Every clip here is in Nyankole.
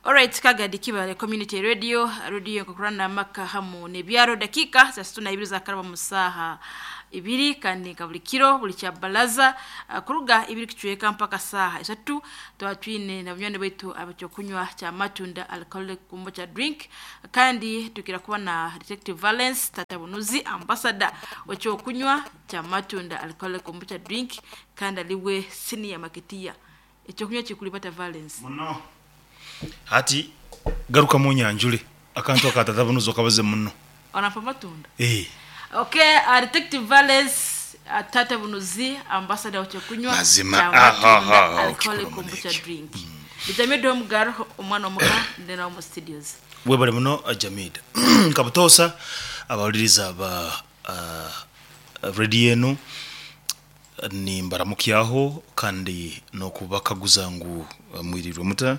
Alright, Kagadi Kibale Community Radio, radio nkokurana amaka hamu nebyaro dakika za 62 zakaraba musaha ibiri kandi nka buli kiro buli kya balaza kuruga ibiri kichweka mpaka saha isatu twatwine na bunywani baitu abakyokunywa kya matunda alcoholic kombucha drink kandi tukira kuba na Detective Valence Tatabunuzi ambassador wekyokunywa kya matunda alcoholic kombucha drink kandi aliwe senior marketeer. Ekyokunywa kikulibata Valence. Muno hati garuka mu nyanjure akantu akatatabunuzi okabaze muno. Onampa matunda. Eh. Okay, Detective Valence Tata Bunuzi ambassador wekyokunywa Mazima, kya aha, matunda aha, alcoholic okikora kombucha munekyo. drink. Bijamide omugaro omwana omuka ndena omu studios. Webale muno Jamida. Nkabutosa abawuliriza ba radio enu nimbaramukyaho kandi nokubakaguza ngu mwirirwe muta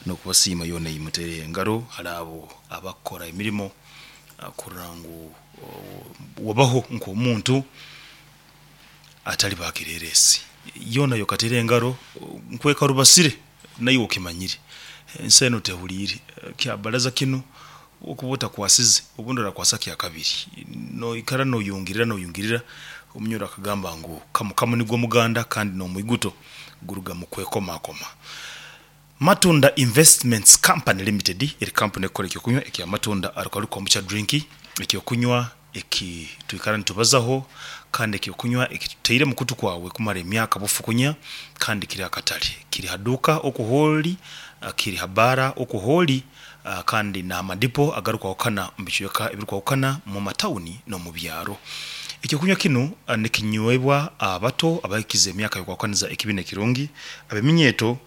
nokubasiima yona eyimutere engaro hari abo abakora emirimo kurora ngu wabaho nk'omuntu atali bakireresi yona yokatere engaro nkweka rubasire nayo okimanyire ensi eno tehuriire kyabaraza kinu okuba otakwasize obundi orakwasa kya kabiri noikara noyungirira noyungirira omunyoro akagamba ngu kamukamu nigwo muganda kandi n'omwiguto guruga mu kwekomakoma. Matunda Investments Company Limited eri kampuni ekukora ekyokunywa ekya Matunda Alcoholic Kombucha Drink, ekyokunywa eki twikara nitubazaho kandi ekyokunywa eki tutaire mu kutu kwawe kumara emyaka bufukunya kandi kiri aha katare, kiri ha duuka oku hoori, kiri ha baara oku hoori kandi n'aha madipo agarikwahukana omu bicweka ebirikwahukana omu matawuni n'omu byaro. Ekyokunywa kinu nikinywebwa abato abahikize emyaka y'okwahukaniza ekibi n'ekirungi, ab'eminyeeto,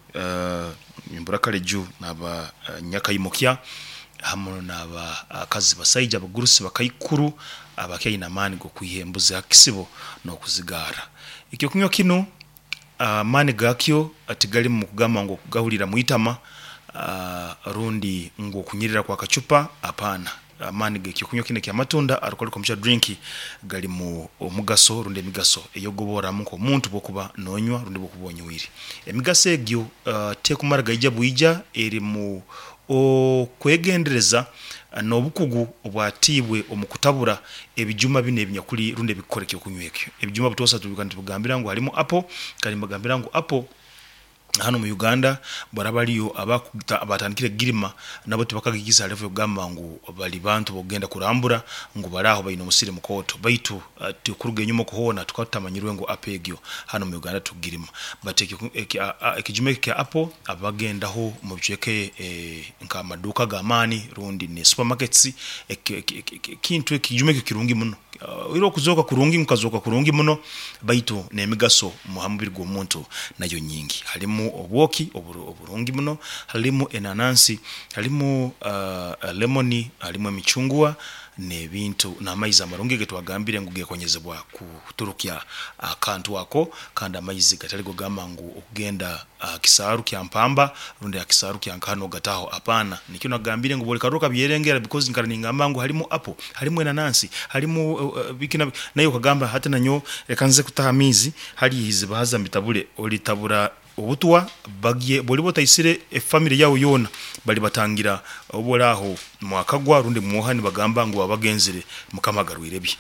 nimbura kare ju n'aba nyakaimukya hamu n'abakazi basaija abagurusi bakaikuru abakyaine amaani g'okwiha embuzi aha kisibo n'okuzigaara. Ekyokunywa kinu amaani gakyo tigali mu kugamba ngu okugahurira mwitama rundi ngu okunyirira kw'akacupa apaana. Amaani g'ekyokunywa kinu ekya Matunda Alcoholic Kombucha Drink gali mu omugaso rundi emigaso ey'okugoborramu nk'omuntu bw'okuba noonywa rundi bw'okuba onywire. Emigaso egyo tekumara gaija bwija eri mu okwegendereza n'obukugu obwatiibwe omu kutabura ebijuma binu ebinyakuli rundi ebikukora ekyokunywa ekyo. Ebijuma butoosa tubika nitubigambira ngu harimu apple kandi nibagambira ngu apple hanu omu Uganda baraba bariyo abatandikire kugirima nabo tibakagihikize ha level yokugamba ngu bari bantu b'okugenda kurambura ngu bari aho baine omusiri mukooto baitu kuruga enyuma oku hoona tukaba tutamanyirwe ngu apple egyo hanu omu Uganda tukugirima but ekijuma eki ekya apple abagendaho omu bicweka nk'amaduuka ag'amaani rundi ne supermarkets ekintu ekijuma ekyo kirungi muno. Oihireho okuzooka kurungi ngu kazooka kurungi muno baitu n'emigaso ha mubiri gw'omuntu nayo nyingi. Harimu obwoki oburungi muno, harimu enanansi, harimu lemoni, harimu emicungwa n'ebintu n'amaizi amarungi agetwagambire ngu gekonyezebwa kuturukya akantu ako kandi amaizi gatari gogamba ngu okugenda aha kisaaru kya Mpamba rundi aha kisaaru kya nkaha nogataho apaana. Nikyo nagambire ngu buri karuru kabyerengera because nkara ningamba ngu harimu apple, harimu enanansi, harimu biki na biki naiwe okagamba hati nanyowe reka nze kutaha amaizi hariya eiziba haza mbitabure, oritabura obutwa bagye bworiba otaisire efamily yaawe yoona baribatangira obu ori aho mwakagwa rundi mwoha nibagamba ngu baba bagenzire Mukama agarwire bye.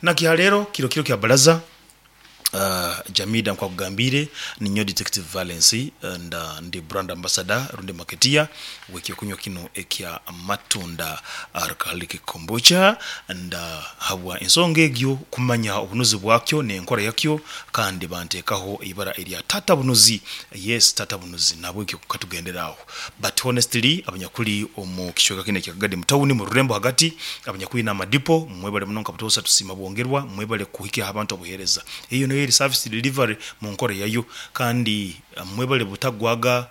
Nakiha rero kiro kiro kya baraza Jamida nkwakugambiire ninyowe Detective Valence nda ndi brand ambassador rundi marketeer w'ekyokunywa kinu ekya Matunda Alcoholic Kombucha nda habwa ensonga egyo kumanya obunuzi bwakyo n'enkora yakyo kandi banteekaho eibara erya Taata Bunuzi yes Taata Bunuzi nahabwekyo katugendere aho but honestly abanyakuli omu kicweka kinu ekya Kagadi mu tawuni mu rurembo hagati abanyakwine amadipo mwebale muno nka butoosa tusiima bwongerwa mwebale kuhikyaho abantu obuheereza eyo niyo eri service delivery mu nkora yayo kandi mwebale butagwaga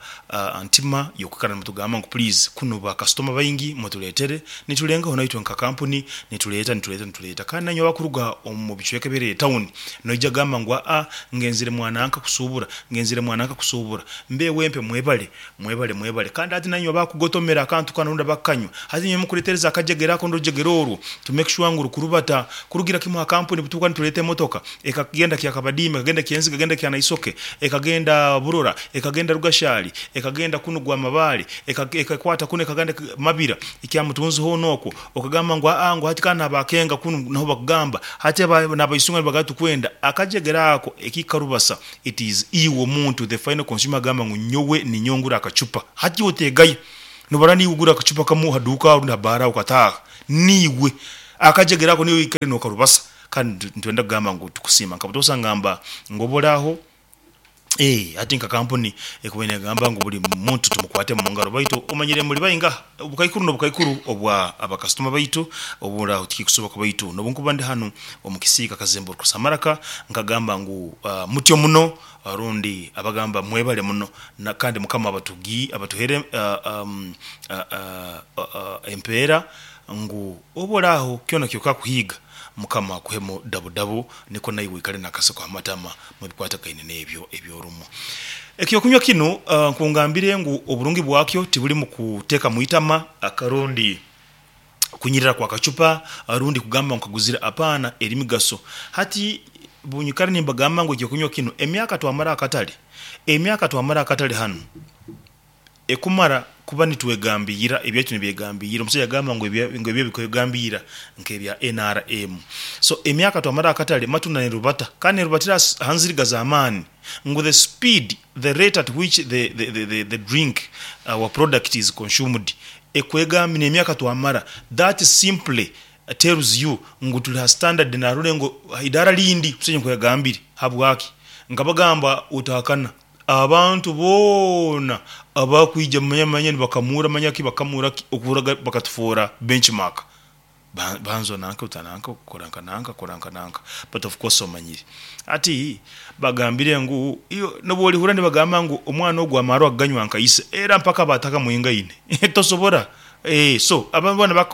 ntima y'okwikara nimutugamba ngu please kunu ba kasitoma baingi mutureetere niturengaho naitwe nka kampuni nitureeta nitureeta nitureeta kandi nainywe abakuruga omu bicweka ebiri tawuni noija gamba ngu aa ngenzire mwananka kusuubura ngenzire mwananka kusuubura mbe wempe mwebale mwebale mwebale kandi hati nainywe abakugotomera akantu kanu rundi abakukanywa hati inywe mukureetereza akajegere ako n'orujegere orwo to make sure ngu rukurubata kurugira kimwe aha kampuni butuuka nitureeta emotoka ekagenda Kyakabadiima ekagenda Kyenziga ekagenda Kyanaisoke ekagenda Burogo. Burora, ekagenda Rugashari, ekagenda kunu Gwamabare, ekakwata kunu ekagenda Mabira, Kyamutunzi hoona okwo, okagamba ngu aa ngu hati kandi n'aba Kenga kunu naho bakugamba, hati n'Abaisunga nibagamba tukwenda akajegere ako ekikarubasa it is iwe omuntu the final consumer agamba ngu nyowe ninyowe ngura akacupa hati iwe oteegaya nobara niiwe ogura akacupa kamwe aha duuka rundi aha baara okataaha niiwe akajegere ako niiwe oikare nokarubasa kandi nitwenda kugamba ngu tukusiima nka butoosa ngamba ngu oba ori aho. Eeh hati nka kampuni ekubaire negamba ngu buri muntu tumukwate mungaro baitu omanyire muri baingaha? Obukaikuru nobukaikuru obwa abakasitoma baitu oburaho tikikusoboka baitu nobunkuba ndi hanu omu kisiika Kazemburukusa Maraka nkagamba ngu mutyo muno rundi abagamba mwebale muno na kandi mukama abatugi abatuhere empeera ngu obu oraho kyona kyokakuhiiga Mukama akuhemu dabudabu nikwo naiwe oikare nakaseko ha matama mubikwatagaine n'ebyo eby'orumu. Ekyokunywa kinu nkungambire ngu oburungi bwakyo tibuli mu kuteeka mu itama rundi kunyirira kwa kacupa rundi kugamba ngu nkaguzire apaana eri migaso. Hati bunyikara nimbagamba ngu ekyokunywa kinu emyaka twamara akatale, emyaka twamara akatale hanu ekumara kuba nitwegambiira, ebyaitu nibyegambiira, omusaija yagamba ngu ngu ebye bikwegambiira nk'ebya nrm. So emyaka twamara akatale matunda nerubata kandi nerubatira aha nziriga z'amaani ngu the speed, the rate at which the, the, the, the, the drink, our product is consumed ekwegambi n'emyaka twamara that simply tells you ngu turi ha standard narore ngu idaara rindi omusaija nko yagambire. Habwaki? Nkabagamba otahakana Abantu boona abakwija manya manya nibakamuura manya ki bakamuura ki okuhurra bakatufoora benchmark. Banza onanke ota nanka kora nka nanka kora nka nanka but of course omanyire. Hati bagambire ngu iwe nobu orihurra nibagamba ngu omwana ogu amaarwa kuganywa nka ise era mpaka batakamuhingaine tosobora so aba boona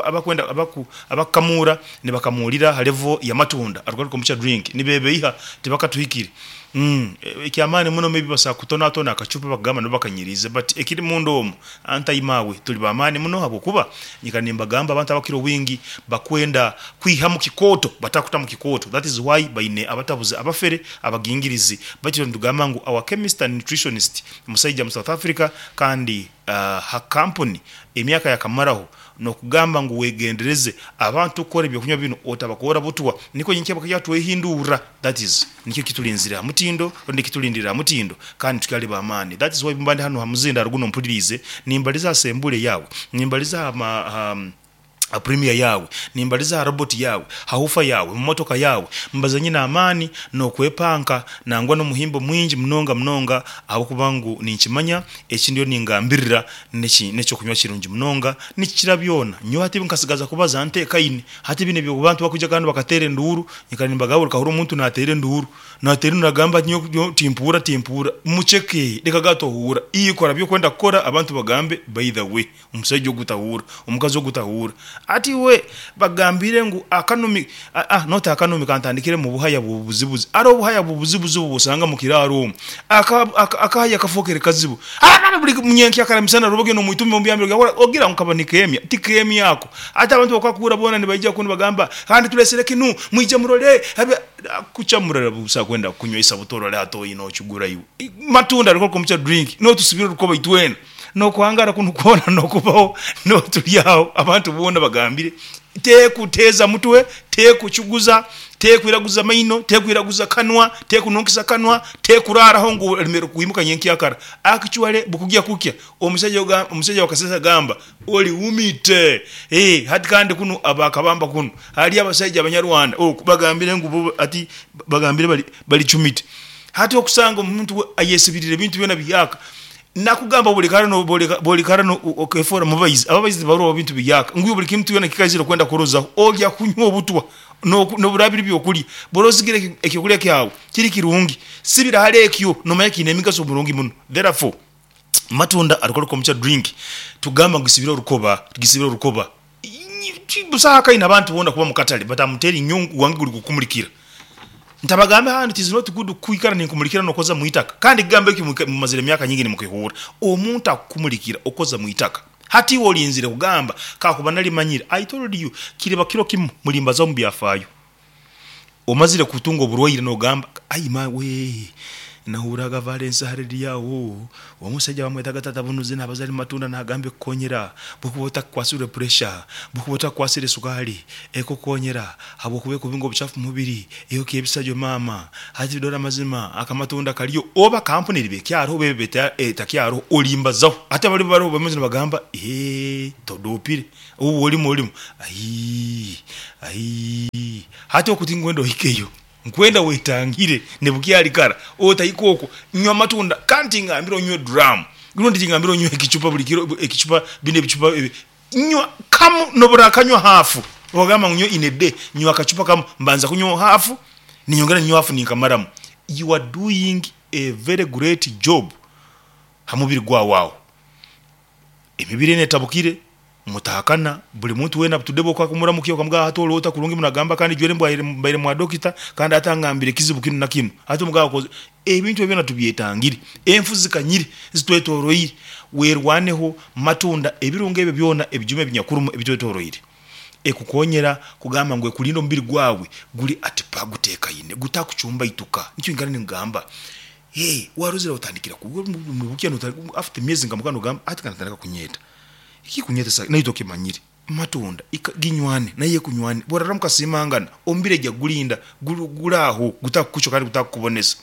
abakwenda abakukamuura nibakamuurira ha level ya matunda alcoholic kombucha drink nibebeiha tibakatuhikire. Ekyamaani muno maybe basobola kutonatona akacupa bakagamba nabo bakanyiriize but ekiri munda omu anti maawe turi bamaani muno habwokuba nyikara nimbagamba abantu abakukira obwingi bakwenda kwiha mu kikooto batakuta mu kikooto that is why baine abatabuzi abafere abagingirizi baitu itwe nitugamba ngu our chemist and nutritionist musaija mu South Africa kandi ha kampuni emyaka yakamaraho N'okugamba ngu wegendereze abantu kukora ebyokunywa binu otabakoora butwa nikwo nyenkya bakaija twehindurra that is nikyo kiturinzire ha mutindo rundi kiturindirire ha mutindo kandi tukyali b'amaani that is why bumba ndi hanu ha muzindaaro gunu ompuliriize nimbaliza ha sembule yaawe nimbaliza ha ha ha premier yaawe nimbaliza ha robot yaawe ha hufa yaawe mu motoka yaawe mbaza nyine amaani n'okwepanka nangwa n'omuhimbo mwingi munonga munonga ahabw'okuba ngu ninkimanya eki ndiyo ningambirira N'eki n'eky'okunywa kirungi munonga, nikikira byona. Nyowe hati nkasigaza kubaza ntekaine. Hati binu eby'obu bantu bakwija kandi bakateera enduuru, nyikara nimbagamba okahurra omuntu naateera enduuru, naateera enduuru nagamba ati nyowe nyowe timpuurra timpuurra. Muceke, reka ga tohuurra. Iwe kora ebi orikwenda kukora abantu bagambe by the way omusaija ogu tahuurra, omukazi ogu tahuurra. Hati iwe bagambire ngu akanumi, ah not akanumi kantandikire mu buhaya bw'obubuzibuzi. Hariho obuhaya bw'obuzibuzi obu osanga mu kiraaro omu. Akahaya kafookere kazibu. Buri nyenkyakara misana roba ogenda omu itumbi omu byambiro ogira ngu kaba nikeemya. Tikeemya ako. Hati abantu bakakura boona nibaija kunu nibagamba, Kandi tulesere kinu, mwije murole. Kukya murara busa kwenda kukunywesa buto orole hati oine okigura iwe. Matunda alcohol kombucha drink notusibira orukoba itwena. Nokuhangara kunu kwona nokubaho noturi aho abantu boona bagambire tekuteeza mutwe, tekucuguza, tekwiraguza maino, tekwiraguza kanwa, tekununkisa kanwa, tekuraaraho ngu oremerwe kwimuka nyenkyakara. Actually bukugya kukya omusaija omusaija wa Kasese agamba ori wumite. Eeh hati kandi kunu aba Kabamba kunu hariyo abasaija abanyarwanda oku bagambire ngu bo hati bagambire bari bari cumite. Hati okusanga omuntu ayesibirire ebintu byona bihyaka Nakugamba bwolikara okefoora mubaizi, ababaizi tibarora bintu bihyaka, ngu iwe buli kintu kyona kikaizire okwenda kurozaho, olya kunywa obutwa noburaaba biri byokulya. Bwora osigire ekyokulya kyawe kiri kirungi, sibira hali ekyo nomanya kiine emigaso mirungi muno. Therefore, matunda alcoholic kombucha drink tugamba ngu gisibire orukoba, gisibire orukoba. Busaho akaine abantu boona kuba mukatale but am telling you gwange guri kukumulikira. Ntabagambe hanu it is not good kwikara ninkumulikira nokoza mwitaka kandi ekigambo ekyo mumazire emyaka nyingi nimukihuura. Omuntu akukumulikira okoza mwitaka hati iwe olinzire kugamba kakuba nalimanyire I told you kiriba kiro kimu mulimbazaho omu byafaayo. Omazire kutunga oburwaire nogamba ai maawe. Nahurraga Valens ha rediyo aho, omusaija bamwetaga Tata Bunuzi nabaza ali mumatunda nagamba ekukonyera bwokuba otakukwasirwe puresha, bwokuba otakukwasire sukaali, ekukonyera habwokuba ekubinga obuchafu mumubiri, eyokya ebisajwa maama. Hati dora amazima akamatunda kariyo oba kampuni eriba ekyaroho oba eba etakyaroho olimbazaho. Hati abaliba baroho bamwe nibagamba eeh todopire, obu orimu orimu aii aii hati oku tinkwenda ohikeyo. Nkwenda wetangire nebukyali kara otahika okwo. Nywa amatunda kandi tingambire onywe drum rundi tingambire onywe ekicupa buli kiro ekicupa binu ebicupa ebi nywa kamu noburakanywa hafu ogamba ngu nyowe in a day nywa akacupa kamu mbanza kunywaho hafu ninyongera ninywa hafu ninkamaramu you are doing a very great job ha mubiri gwawe aho. Emibiri enu etabukire, mutahakana, buli muntu weena butudde bw'okakumuramukia okamugamba hati oli ota kurungi muno agamba kandi jwere mbaire mbaire mwa dokita kandi hati angambire ekizibu kinu na kinu. Hati omugamba okoze ebintu ebyo byona tubyetangire. Enfu zikanyire zitwetoroire, werwaneho matunda ebirungo ebyo byona ebijuma ebinyakurumu ebitwetoroire. Ekukonyera kugamba ngu ekurinda omubiri gwawe guri at par gutekaine gutakucumbaituka. Nikyo nyikara ningamba. Eeh warozire otandikira ku bukya after emyezi nka mukaaga nogamba hati kanatandika kunyeeta. Ekikunyetesa naitwe okimanyire matunda ika ginywane nayo ekunywane bworara mukasiimangana omubiri egya kugurinda guri aho gutakukucwa kandi gutakukubonesa.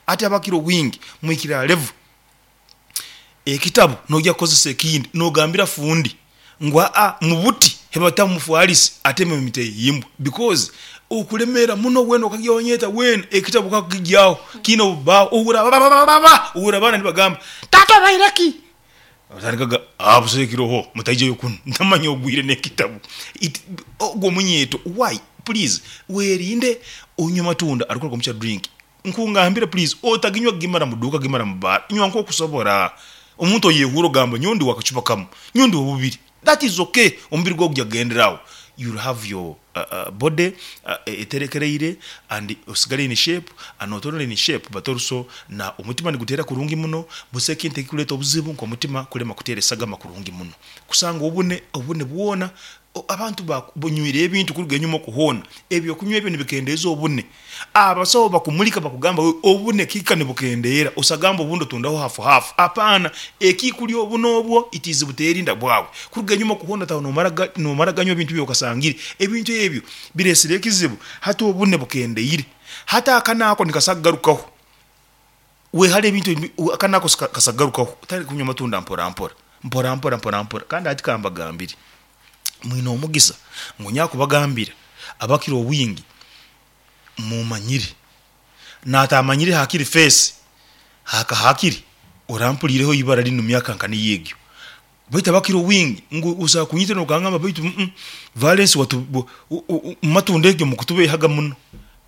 Hati abakira obwingi muhikire aha level ekitabu noija kukozesa ekindi nogambira fundi ngu aa mubuti hebatamu mufwalisi atemu emiteyimbwa because okuremeera muno weena okagya wanyeta weena ekitabu kakukigyaho kiine obubaho ohurra bababababa ohurra abaana nibagamba taata obaire ki? Otandika kugamba aa busaho ekiroho mutaijayo kunu ntamanya ogwire n'ekitabu it ogwo omunyeeto why please werinde onywe amatunda arikuruga omu kya drink Nkungambire please otaginywa gimara mu duuka gimara mu baara nywa nkokusobora. Omuntu oyehuura ogamba nyowe ndi wakacupa kamu nyowe ndi wabubiri that is okay omubiri gwawe gugya kugendera aho you'll have your body eterekereire and osigale in shape and not only in shape but also na omutima niguteera kurungi muno busa ekintu ekikureeta obuzibu nkomutima kurema kuteera esagama kurungi muno kusanga obune obune bwona Abantu banywire ebintu kuruga enyuma oku hoona. Ebyokunywa ebyo nibikendeeza obune. Abasaho bakumulika bakugamba obune kihika nibukendeera, osagamba obundi otundaho hafu hafu. Apaana, ekikulya obune obwo it is buteerinda bwawe. Kuruga enyuma oku hoona otaho nomara ganywa ebintu ebi okasangire. Ebintu ebyo bireesire ekizibu, hati obune bukendeire. Hati aka naako nikasobola kugarukaho. Wehare ebintu ebi, aka nako kasagarukaho, otandike kunywa amatunda mpora mpora, mpora mpora, mpora mpora. Kandi hati kambagambire, mwine omugisa ngu nyakubagambira abakira obwingi mumanyire, natamanyire hakiri face, haka hakiri orampuriireho eibara rinu myaka nka niyo egyo. Baitu abakira obwingi ngu osobola kunyita nokangamba baitu Valens watu mumatunda egyo mukutubeihaga muno.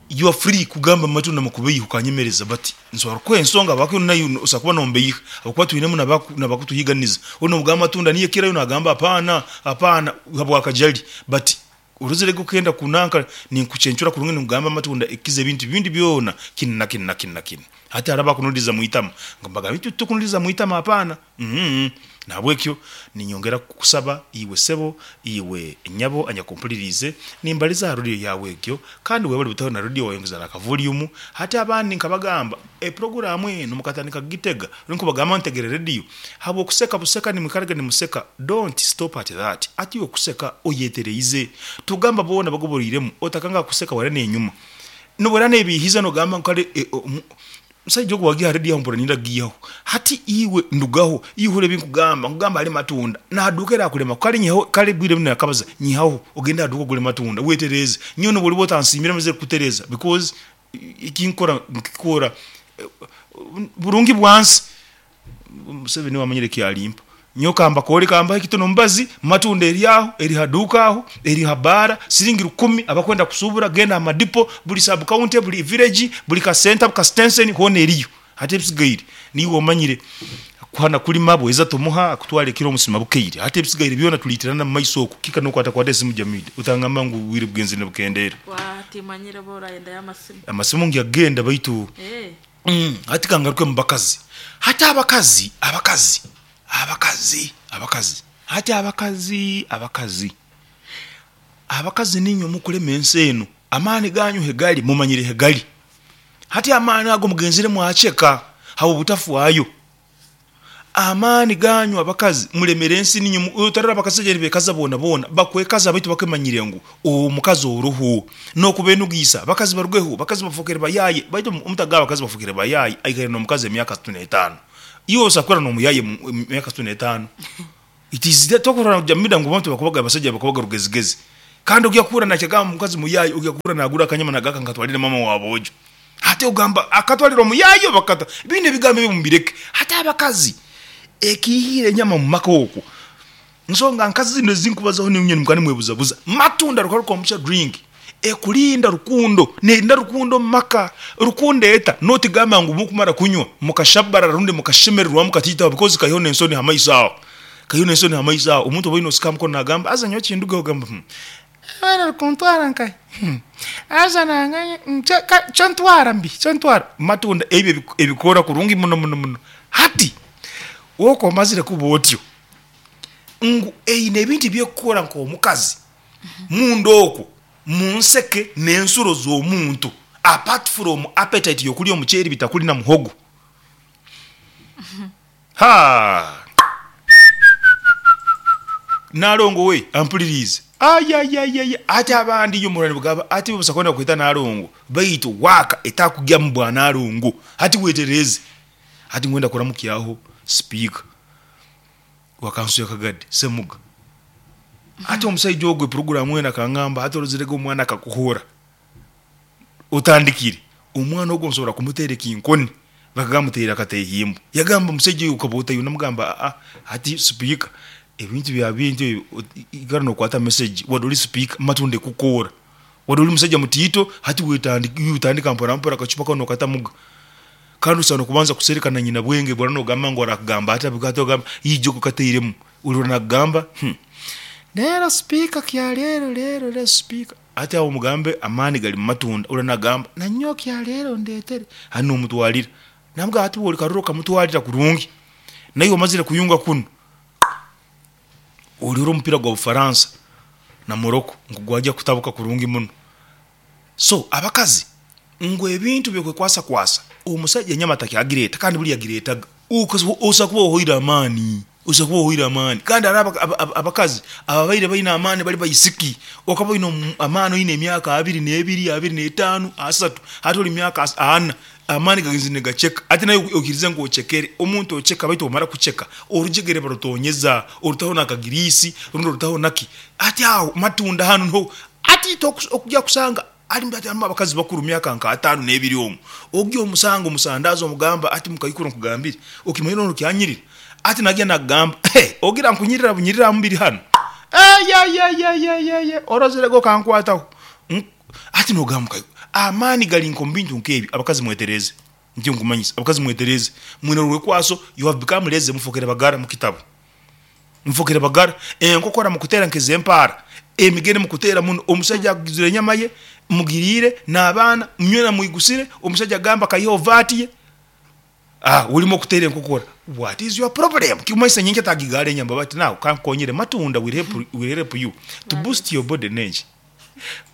You are free kugamba mumatunda mukubeiha okanyemereza but nsobola kukuha ensonga habwaki naiwe osobola kuba nombeiha habwokuba twinemu nabakutuhiganiza. Onu nobugamba amatunda niyo ekirayo nagamba hapana hapana habwakajali but Orozere ge okenda kunanka ninkucencura kurungi ninkugamba amatunda ekiza ebintu bindi byona kinu na kinu na kinu na kinu. Hati hariho abakunuriza mwitama ngu mbagambire itwe titukunuriza mwitama hapana uhmm nahabwekyo ninyongera kukusaba iwe sebo iwe nyabo anyakumpuririize nimbariza aha radio yaawe egyo kandi webare butaho na radio wayongeza na kavolume hati abandi nkabagamba epuroguramu enu mukatandika kugitega Nkubagamba ntegere rediyo habw'okuseka buseka nimwikaraga nimuseka don't stop at that ati iwe kuseka oyetereize tugamba boona bagoboroiremu otakanga kuseka wara nenyuma nobwera nebihiza nogamba ngu kare omusaija ogu wagiha rediyo aho mpurra ninyenda kugiihaho hati iwe ndugaho iwe hurra ebinkugamba nkugamba hare matunda nahaduuka erakurema kare nyihaho kare bwire bunu nakabaza nyihaho ogende ahaduuka ogure matunda wetereeze nyowe nobworiba otansiimire mazire kukutereza because Ekinkora nkikora burungi bwansi. Museveni niwe amanyire eki alimpa. Nyowe kambakore kambahe ekitono omubazi, matunda eri aho, eri ha duuka aho, eri ha baara, siringi rukumi, abakwenda kusuubura genda aha madipo, buri sub county, buri village, buri ka centre, ka sitenseni hoona eriyo. Hati ebisigaire niiwe omanyire. Kuhana kulima bweza tomuha akutwara ekiro omusima bukeire. Hati ebisigaire byona tuliitirana mu maiso okwo. Kika nokwatakwata esimu Jamil otangamba ngu obwire bugenzire nibukendeera. Waa timanyire oba orayendayo amasimu. Amasimu ngyagenda baitu hati kangaruke mu bakazi. Hati abakazi, abakazi, abakazi, abakazi, hati abakazi, abakazi, abakazi niinywe mukulema ensi enu. Amaani ganyu hegali mumanyire hegali. Hati amaani ago mugenzire mwaceka habw'obutafwayo. Amaani ganyu abakazi mulemere ensi niinywe otarora abakasaija nibekaza boona boona bakwekaza baitu bakemanyire ngu omukazi oruhu n'okubenugiisa abakazi barugeho abakazi bafokere bayaye baitu omutagaba abakazi bafokere bayaye aikaire n'omukazi emyaka asatu n'etaano iwe osobola kwikara n'omuyaye emyaka asatu n'etaano it is tokurora Jamila ngu abantu bakubaga abasaija bakubaga rugezigezi kandi ogya kuhurra nakyagamba omukazi muyaye ogya kuhurra nagura akanyama nagaka nkatwarire mama wa boojo. Hati ogamba akatwarira omuyaayi oba kata? Binu ebigambo ebyo mubireke. Hati abakazi ekiihire enyama mu maka okwo nsonga nkazi zinu ezinkubazaho niinywe nimukaba nimwebuzabuza. Matunda rukaruka omuca drink ekurinda rukundo nerinda rukundo omu maka. Rukundo eta? Notigamba ngu mukumara kunywa mukashabarara rundi mukashemererwa mukatiitaho because kaiho nensoni ha maiso aho. Kaiho nensoni ha maiso aho. Omuntu oba oine osika aha mukono nagamba haza nyowe kindugeho ogamba hmm. Abaana bari nkahi? Haza nanganye kyontwara mbi kyontwara matunda ebyo ebikora kurungi muno muno muno. Hati woka omazire kuba otyo ngu eine ebintu ebyekukora nk'omukazi munda okwo munseke n'ensuro z'omuntu apart from appetite y'okurya omuceeri bitakuri na muhogo. Haa! Nalongo we ampuliriize. Ayayayaya ati abandi inywe muhurra nibagamba ati busa kwenda kweta Nalongo baitu waaka etakugyamu bwa Nalongo. Hati wetereeze. Hati ngwenda kuramukyaho sipiika wa kanso ya Kagadi Semuga. Hati omusaija ogu epuroguramu enu akangamba hati orozirege omwana akakuhurra. Otandikire, omwana ogu nsobora kumuteera ekinkoni bakamuteera akatehimbo. Yagamba omusaija oyo okaba ota iwe? Namugamba aa hati sipiika ebintu bya bintu ebi ikara nokwata message wadde ori sipiika matunda ekukoora. Wadde ori musaija mutiito hati wetandika iwe otandika mpora mpora akacupa kanu nokatamuga. Kandi osaana kubanza kusereka na nyina bwenge bwona nogamba ngu arakugamba ata hati ogamba ijo okateiremu orora nakugamba reero sipiika kyaleero reero reero sipiika. Hati aho omugambe amaani gari mu matunda, ori nagamba nanyowe kyaleero ondetere, hati nomutwarira. Namugamba hati bwori karora okamutwarira kurungi, naiwe omazire kuyunga kunu, orore omupiira gwa Bufaransa na Morocco ngu gwagya kutabuka kurungi muno. So abakazi ngu ebintu byokwekwasa kwasa, omusaija enyama takyagireeta kandi buri yagireetaga. Osobola kuba ohoire amaani, osobola kuba ohoire amaani. Kandi hariho abakazi ababaire baine amaani bari baisiki. Okaba oine amaani oine emyaka abiri n'ebiri, abiri n'etaano, asatu, hati ori myaka ana, amaani gagenzire nigaceka. Hati naiwe oikirize ngu ocekere. Omuntu oceka baitu omara kuceka, orujegere barutonyeza, orutaho n'akagiriisi rundi orutaho naki. Hati aho matunda hanu niho hati itwe okugya kusanga Harimu hati harimu abakazi bakuru myaka nka ataano n'ebiri omu. Ogya omusanga omusandaazi omugamba ati mukaikuru nkugambire, okimanyire onu kyanyirira? Ati nagya nakugamba, he ogira nkunyirira bunyirira aha mubiri hanu? Eyeyeyeyeyeye orozirege okankwataho. Hati nogamba mukaikuru, amaani gari nk'omu bintu nk'ebyo, abakazi mwetereeze. Nikyo nkumanyisa, abakazi mwetereeze. Mwine orwekwaso, you have become lazy mufokere bagara mukitabo. Mufokere bagara, enkokora mukuteera nk'ez'empaara, emigere mukuteera muno. Omusaija aguzire enyama ye, mugiriire n'abaana, nywena mwigusire, omusaija agamba akaihaho vaati ye, ah orimu okuteera enkokora. What is your problem? Kikumanyisa nyenkya tagigaara enyama bati now kankukonyere matunda will help, will help you to boost your body n'enki?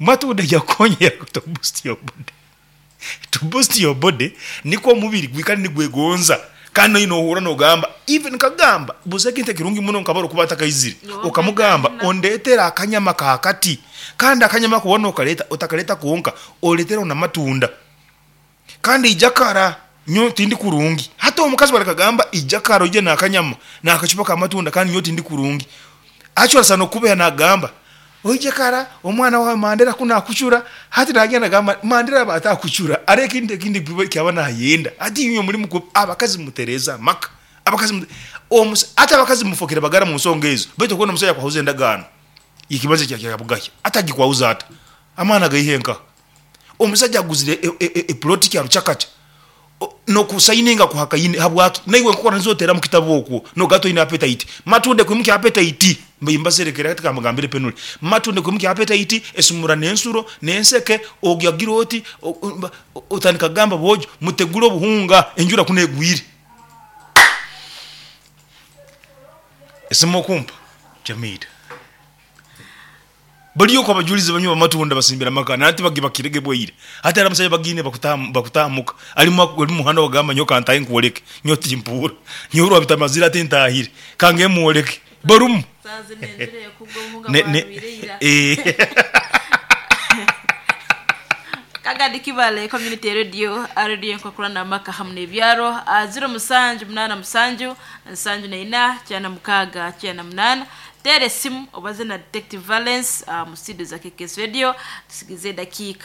Matunda gakukonyera to boost your body. To boost your body nikwo omubiri gwikare nigwegonza kandi noine nohurra nogamba even nkagamba busa ekintu ekirungi muno nkaba orikuba atakaizire okamugamba ondetere akanyama kakati kandi akanyama ako waba nokareta otakareta konka oretereho namatunda kandi ija kara nyowe tindi kurungi hati omukazi barakagamba ija kara oije nakanyama nakacupa kamatunda kandi nyowe tindi kurungi actually asobola nokukubeha nagamba Oije kara omwana wawe Mandera ku nakucura, hati nagenda nagamba Mandera aba atakucura hariho ekintu ekindi eki aba nayenda. Hati inywe muri mukubi abakazi mutereeze amaka, abakazi mute omusa hati abakazi mufokire bagara mu nsonga ezo baitu okubona omusaija akwahuza endagaano y'ekibanja kya kya Bugahya hati agikwahuza ata? Amaani agaihe nkaha? Omusaija aguzire eploti Kyarukyakakya N'okusayininga kuhakaine. Habwaki? Naiwe enkokora nizo oteera mu kitabu okwo noga toine appetite. Matunda ekwimukya appetite. Mbaire mbaserekere hati kambagambire penuli. Matunda ekwimukya appetite, esumura n'ensuro, n'enseke, ogya gira oti, otandika kugamba boojo mutegure obuhunga enjura kunu egwire. Esimu okumpa? Jamidah. Bariyo okwo abajulizi banywe bamatunda basimbire amaka na hati bagibakire ge bwaire. Hati hariho abasaija bagiine bakutaha muka ari mu muhanda wagamba nyowe kantahe nkwoleke nyowe timpuura nyowe rwabita amazire hati ntahire kange mwoleke barumu. Ne ne eh. Kagadi Kibale Community Radio, Radio Enkokurana Amaka hamu n'ebyaro, 0787 74 96 98. Teera esimu obaze na Detective Valence mu studio za KKS Radio. Tusigize edakiika.